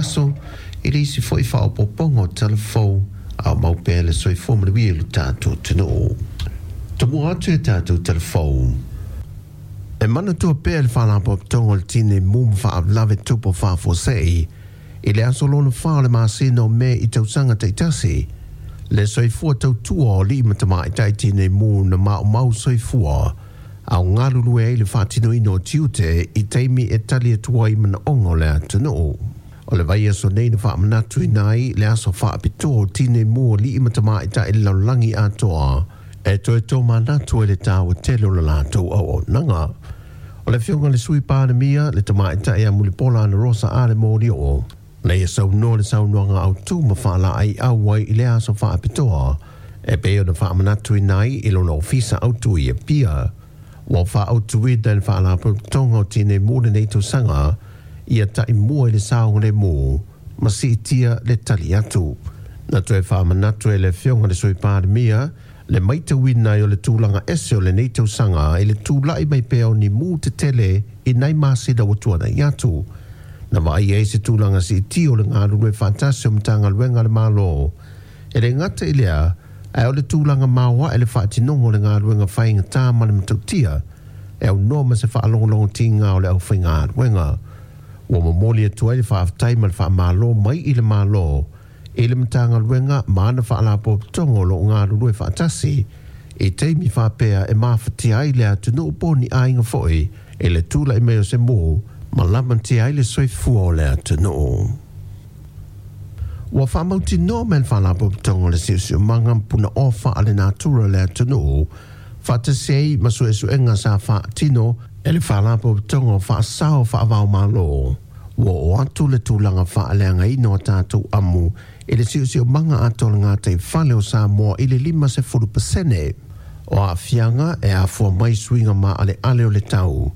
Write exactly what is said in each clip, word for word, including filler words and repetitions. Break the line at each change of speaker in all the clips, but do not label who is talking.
vaiaso i le isi foi faaopoopoga o talavou a o mau pea le soifua manuia i lo tatou atunuu. Tomua atu i tatou talavou. E manatua pea le Faalapotopotoga o le Tinei Mu ma Faalavelave Tutupu Faafuasei i le aso lona fa o le masina o Me i tausaga taitasi le soifua tautua o alii ma tamaitai tinei mu na maumau soifua a o galulue ai le faatinoina o tiute i taimi e tali atu ai manaoga o le atunuu. O le vaiaso nei na faamanatuina ai le aso faapitoa o tinei mu o alii ma tamaitai i le lalolagi atoa e toe tomanatu ai le taua tele o le latou auaunaga. O le afioga i le Sui Palemia le tamaitai ia Mulipola Anarosa Ale Molioo na ia saunoa le saunoaga autū ma faalaeiau ai i le aso faapitoa e pei ona faamanatuina ai i lona ofisa autū i Apia. Ua faaautuina e le Faalapotopotoga o Tinei Mu lenei tausaga ia taimua i le saogalemu ma siitia le tali atu. Na toe faamanatu e le afioga i le Sui Palemia le matauina ai o le tulaga ese o lenei tausaga i le tulai mai pea o ni mu tetele i nai masina ua tuanai atu. Na vaaia ai se tulaga siitia o le galulue faatasi o Matagaluega a le Malo. E le gata i lea, ae o le tulaga maoae le faatinoga o le galuega faigata ma le matautia e aunoa ma se faalogologotiga o le aufaigaluega. Ua momoli atu ai le faafetai ma le faamalo mai i le Malo i le Matagaluega ma ana faalapotopotoga o lo o galulue faatasi i taimi faapea e mafatia ai le atunuu po o ni aiga foi i le tulai mai o se mu ma lamatia ai le soifua o le atunuu. Ua faamautinoa mai e le Faalapotopotoga o le Siosiomaga ma Punaoa Faalenatura o le atunuu faatasi ai ma suesuega sa faatino e le Faalapotopotoga o Faasao Faava-o-Malo ua oo atu le tulaga faaleagaina o tatou amu i le siosiomaga atoa o le gataifale o Samoa i le lima sefulu pasene. O aafiaga e afua mai suiga maaleale o le tau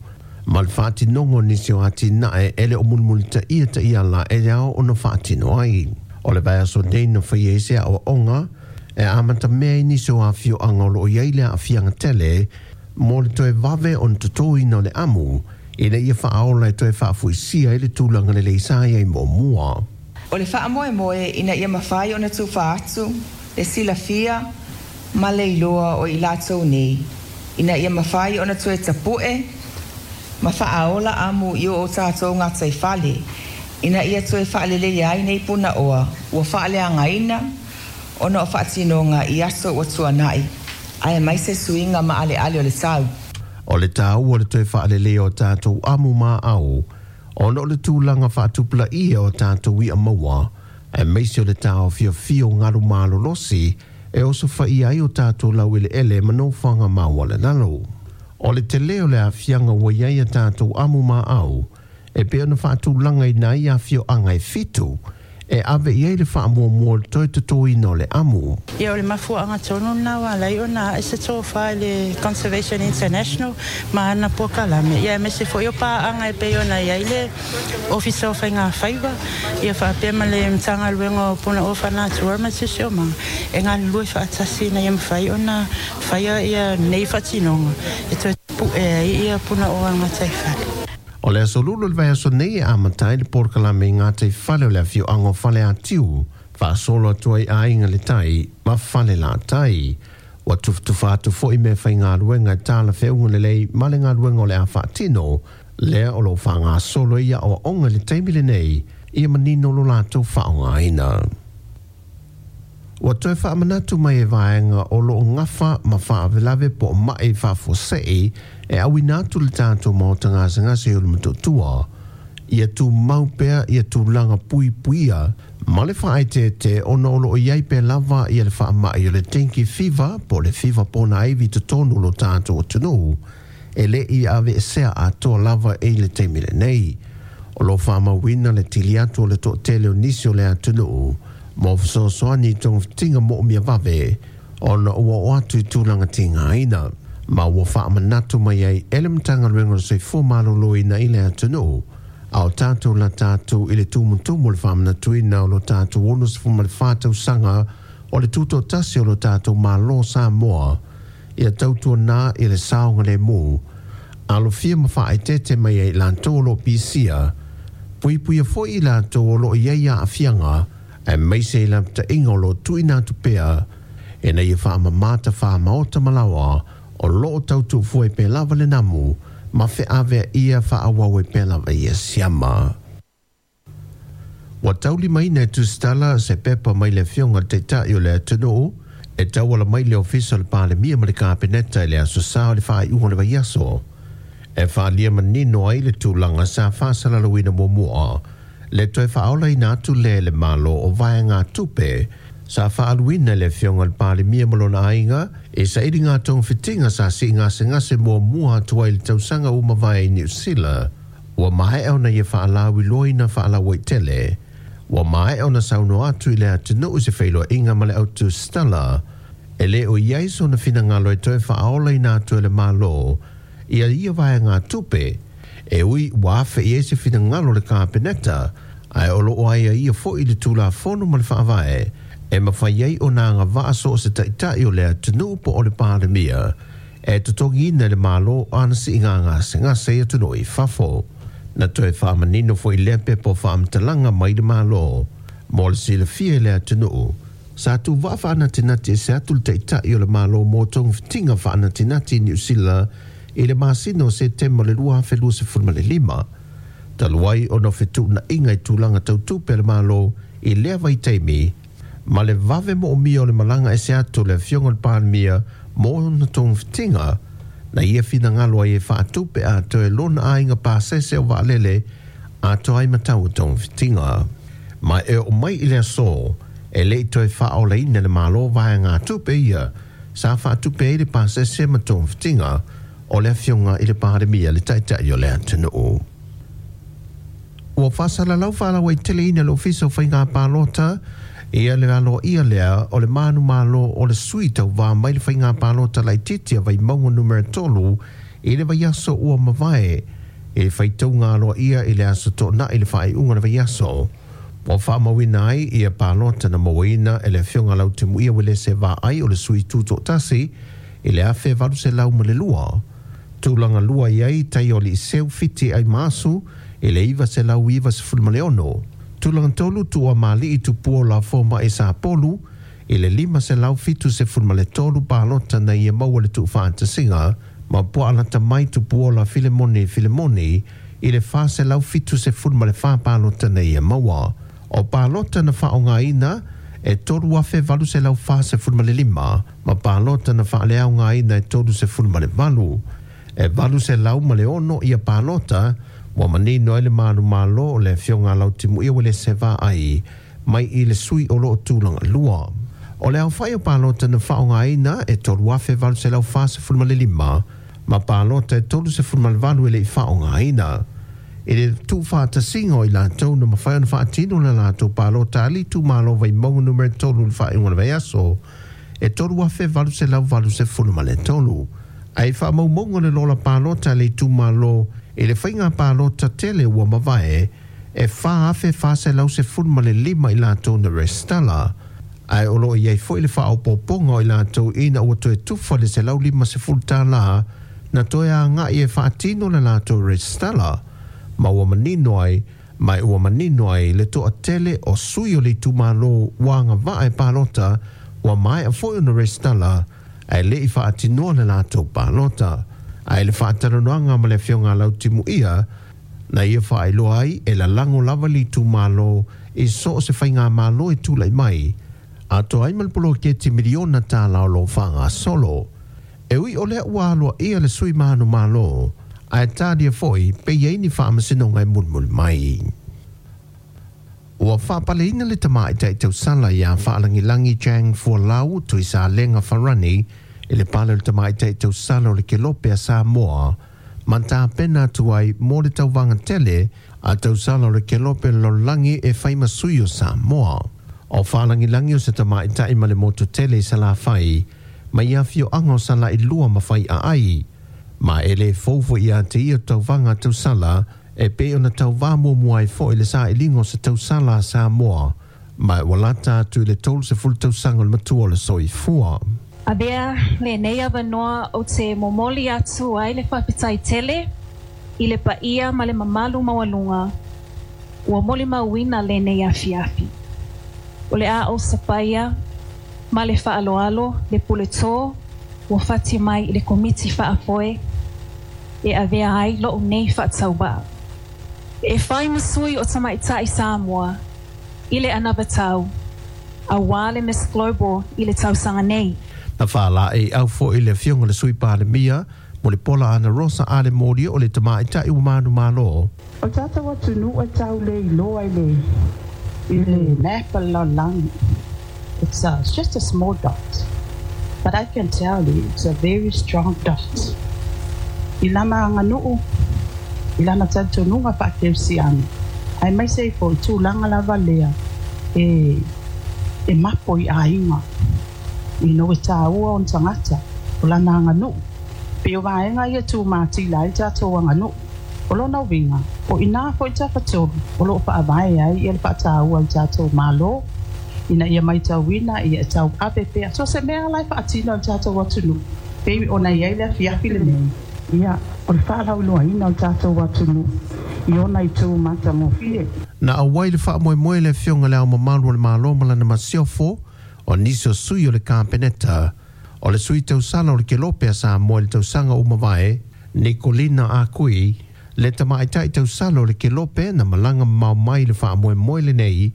ma le faatinoga o nisi o atinae e le o mulimulitaia taiala e ao ona faatino ai. O le vaiaso nei na faia ai se aoaoga e amatamea ai nisi o afioaga o lo o i ai le aafiaga tele mo le toe vave ona totoina o le amu ina ia faaola e toe faafoisia ai le tulaga lelei sa i ai muamua.
O le faamoemoe ina ia mafai ona tufa atu le silafia ma le iloa o i latou nei, ina ia mafai ona toe tapu'e ma faaola amu i o tatou gataifale, ina ia toe faaleleia ai nei punaoa ua faaleagaina ona o faatinoga i aso ua tuanai, aemaise suiga maaleale o le tau.
O le taua o le toe faaleleia o tatou amu maau ona o le tulaga faatupulaia o tatou i'a maua, aemaise o le taofiofia o galu malolosi e osofaia ai o tatou laueleele ma nofoaga maualalalo. O le tele o le aafiaga ua i ai a tatou amu maau e pei ona faatulagaina ai afioaga e fitu e ave i ai le faamuamua o le toe totoina o le amu.
Ia, o le mafuaaga tonu lena ua ala ai ona ae se tofa i le Conservation International ma ana polokalame, ia aemaise foi o paaga e pei ona i ai le Ofisa o Faigafaiva, ia faapea ma le Matagaluega o Punaoa Faalenatura ma le Siosiomaga e galulue faatasi ina ia mafai ona faia ia nei faatinoga e toe pu'e ai ia punaoa o le gataifale.
O le aso Lulu o le vaiaso nei e amata ai le polokalame i gataifale o le afioaga o Faleatiu, faasolo atu ai Aiga i le Tai ma Falelatai. Ua tufatufa atu foi meafaigaluega e talafeauga lelei ma le galuega o le a faatino, lea o lo o faagasolo ai aoaoga i le taimi lenei ia manino lo latou faaaogaina. Ua toe faamanatu mai e vaega o lo o gafa ma faalavelave po o mai faafuasei e auina atu i le tatou maota gasegase o le Motootua ia tumau pea ia tulaga puipuia ma le faaeteete ona o lo o i ai pea lava ia le faamai o le dengue fever po o le fiva ponaivi i totonu o lo tatou atunuu e le i aveesea atoa lava i le taimi lenei. O lo o faamauina le tili atu o le toatele o nisi o le atunuu mo fesoasoani i togafitiga moomia vave ona ua oo atu i tulaga tigaina, ma ua faamanatu mai ai e le Matagaluega o le Soifua Maloloina i le atunuu a o tatou lata atu i le tumutumu o le faamanatuina o lo tatou ono sefulu ma le fa tausaga o le tutoatasi o lo tatou Malo o Samoa ia tautuana i le saogalemu alofia ma faaeteete mai ai i latou o lo o pisia. Puipuia foi i latou o loo i ai aafiaga aemaise i lapataʻiga o loo tuuina atu pea ina ia faamamā tafāmaota ma laoa o loo tautuufua ai pea lava le namu ma feaveaia faaauau ai pea lava ia siama. Ua taulimaina e tusitala se pepa mai le afioga le Taitai o le atunuu e tauala mai le Ofisa o le Palemia ma le Kapeneta i le aso Sa o le faaiuga o le vaiaso e faaalia manino ai le tulaga sa faasalalauina muamua le toe faaolaina atu lea e le Malo o vaegatupe sa faaluina e le afioga i le Palemia ma lona aiga i sailiga togafitiga sa siigasegase muamua atu ai i le tausaga ua mavae i Niu Sila. Ua maea ona ia faalauiloaina faalauaitele. Ua maea ona saunoa atu i le atunuu i se feiloaiga ma le autusitala e lē o i ai sona finagalo e toe faaolaina atu e le Malo ia ia vaegatupe e ui ua afe i ai se finagalo o le Kapeneta ae o loo aiaia foi le Tulafono ma le Faavae e mafai ai ona agavaa so o se taitai o le atunuu po o le Palemia e totogiina e le Malo ana siiga gasegase i atunuu i fafo. Na toe faamanino foi lea pepa o faamatalaga mai le Malo mo le silafia i le atunuu sa tuvaa faanatinati ese atu le Taitai o le Malo mo togafitiga faanatinati i Niu Sila i le masina o Setema o le lua afe luasefulu ma le lima talu ai ona o fetuunaiga i tulaga tautupe a le Malo i lea vaitaimi ma le vave moomia o le malaga ese atu o le afioga i le Palemia mo ona togafitiga na ia finagalo ai e faatupe atoa e lona aiga pasese o vaalele atoa ai ma tau o togafitiga. Ma e oo mai i le aso e lei toe faaolaina e le Malo vaegatupe ia sa faatupe ai le pasese ma togafitiga o le afioga i le Palemia le Taitai o le atunuu. Ua faasalalau faalauaiteleina e le Ofisa o Faiga Palota ia le aloaia lea o le manumalo o le sui tauvā mai le faiga palota laitiiti a Vaimauga numera tolu i le vaiaso ua mavae i le faitauga aloaia i le aso Toonai i le faaiuga o le vaiaso. Ua faamauina ai ia palota na mauaina e le afioga Lautimuia Uelese Vaai o le sui tutoatasi i le afe valu selau ma le lua. Tulaga lua i ai Taioliiseu Fiti Aimaasu i le iva selau iva sefulu ma le ono. Tulaga tolu Tuuamalii Tupua o Lafomae Sapolu i le lima selau fitu sefulu ma le tolu palota na ia maua le tuufaatasiga ma Puaalata mai Tupuola Filemoni Filemoni i le fa selau fitu sefulu ma le fa palota na ia maua. O palota na faaaogaina e tolu afe valu selau fa sefulu ma le lima ma palota na faaleaogaina e tolu sefulu ma le valu. E valu selau ma le ono ia palota ua manino ai le manumalo o le afioga a Lautimuia Uelese Vaai mai i le sui o loo tulaga lua. O le aofai o palota na faaaogaina e tolu afe valu selau fa sefulu ma le lima ma palota e tolu sefulu ma le valu e lei faaaogaina. I le tuufaatasiga o i latou na mafai ona faatino le latou palota a le itumalo Vaimauga numera tolu i le faaiuga o le vaiaso e tolu afe valu selau valu sefulu ma le tolu. Ae faamaumauga le lola palota a le itumalo i le faiga palota tele ua mavae e fa afe fa selau sefulu ma le lima i latou na resitala. Ae o loo i ai foi le faaopoopoga o i latou ina ua toe tufa le selau lima sefulu tālā na toe agai e faatino le latou resitala ma ua manino ai ma ua manino ai le toatele o sui o le itumalo ua agavaa e palota ua maea foi ona resitala ae lei faatinoa le latou palota. Ae le faatalanoaga ma le afioga a Lautimuia na ia faailoa ai e lalago lava le itumalo i so o se faigamalo e tulai mai atoa ai ma le poloketi miliona tālā o loo faagasolo. E ui o lea ua aloaia le sui manumalo ae talia foi pe i ai ni faamasinoga e mulimuli mai. Ua faapaleina le tamaitai tausala iā Faalagilagi Chang Fualau Tuisalega Farani i le pale o le tamaitai tausala o le Kelope a Samoa ma tapena atu ai mo le tauvaga tele a tausala o le Kelope o le Lalolagi e fai ma sui o Samoa. O Faalagilagi o se tamaitai ma le motu tele i Salafai mai afioaga o Salailua ma Faiaai ma e lē fou foi ia te ia tauvaga a tausala e pei ona tauvā muamua ai foi le sailiga o se tausala a Samoa ma ua lata atu i le tolu sefulu tausaga o le matua o le soifua.
Avea lenei avanoa ou te momoli atu ai le faafetai tele i le paia ma le mamalu maualuga. Ua molimauina lenei afiafi. O le a o sapaia ma le faaaloalo le puletō ua fati mai i le komiti faafoe e avea ai lou nei faatauvaa. E fai ma sui o tamaitai Samoa i le anavatau auā le Miss Global i le tausaga nei.
Na faalaeiau foi le afioga le Sui Palemia mo le Pola Ana Rosa Ale Moli o le tamaitai ua manumalo.
O tatou atunuu e tau le iloa i le i le map o le lalolagi. It's, a, it's just a small dot. But I can tell you it's a very strong dot. I lana aganuu, i lana talitonuga faakerisiano, aemaise ai foi tulaga lava lea e e mapo i aiga. Ina ua tāua ona tagata o lana aganuu. Pei o vaega ia tumatila ai le tatou aganuu. O lona uiga, o i ina foi tafatolu o loo faavae ai ia le faataua i le tatou Malo ina ia matauina ia e tauave pea so se mea la e faatino i le tatou atunuu pei ona i ai le afiafi lenei. Ia o le faalauiloaina o le tatou atunuu i ona itu matagofie.
Na auai le faamoemoe le afioga le Ao Mamalu o le Malo ma lana masiofo, o nisi o sui o le Kapeneta, o le sui tausala o le Kelope a Samoa i le tausaga ua mavae, Nikolina Akui, le tamaitai tausala o le Kelope na malaga mamao mai le faamoemoe lenei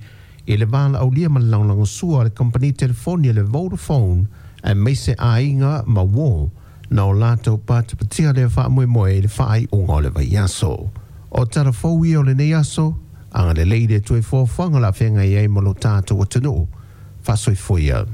i le valaaulia ma le lagolagosua a le kamupani telefoni a le Vodafone aemaise aiga ma uō na o latou patipatia lea faamoemoe i le faaiuga o le vaiaso. O tala fou ia o lenei aso, agalelei le Atua i foafoaga o le a feagai ai ma lo tatou atunuu. Faasoifua ia.